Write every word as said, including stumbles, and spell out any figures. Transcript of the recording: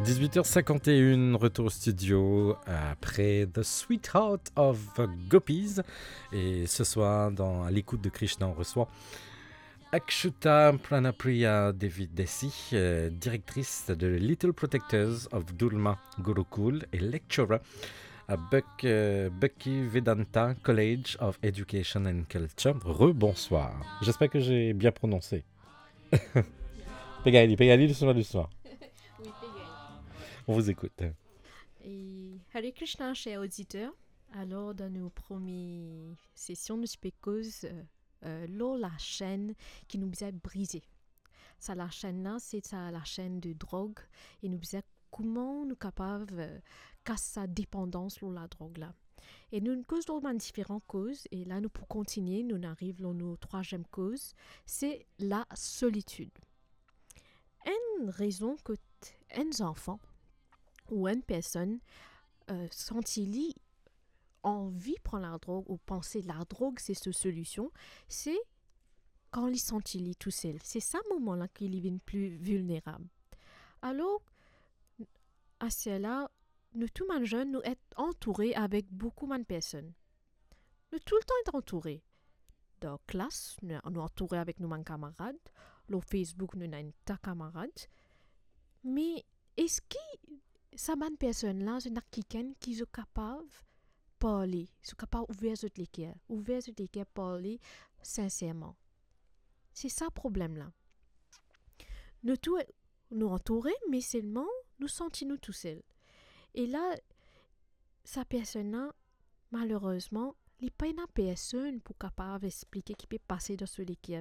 Dix-huit heures cinquante et une, retour au studio après The Sweetheart of Gopis. Et ce soir, dans À l'écoute de Krishna, on reçoit Akshuta Pranapriya Devi Desi, euh, directrice de Little Protectors of Dharma Gurukul et lecturer à Bhak-, euh, Bhaktivedanta College of Education and Culture. Rebonsoir. J'espère que j'ai bien prononcé. Pe gagn li, pe gagn li, dousman, dousman. Wi, pe gagn. On vous écoute. E Hare Krishna, cher auditeur. Alors, dans nos premières sessions, nou ti pe koz euh, euh, lor la chaîne ki nou bizin brize. Sa la chaîne la, se sa la chaîne de drog e nou bizin kouma nou kapav euh, kas sa depandans lor la drog la. E nou koz lor bann diferan koz, e la nou pou kontinie, nou ariv lor nou trwaziem koz, se la solitid. Enn rezon kot enn zanfan ou enn personn euh, santi li anvi pran ladrog ou panse ladrog se so solision, se kan li santi li tousel. Se sa moman la ki li vinn pli vilnerab. Alor, aster la, nou tou bann zenn, nou et antoure avek boukou bann personn. Nou toultan et antoure. Dan klas, nou, nou antoure avek nou bann kamarad. Lor Facebook, nou ena enn ta kamarad. Me eski sa bann personn la, zot ena kikenn ki zot kapav parle, zot kapav ouver zot leker, ouver zot leker, parle sinserman? Se sa problem la. Nou tou, nou antoure, me selman nou santi nou tousel. E la, sa personn la, malerezman, li pena personn pou kapav explike ki pe pase dan so leker.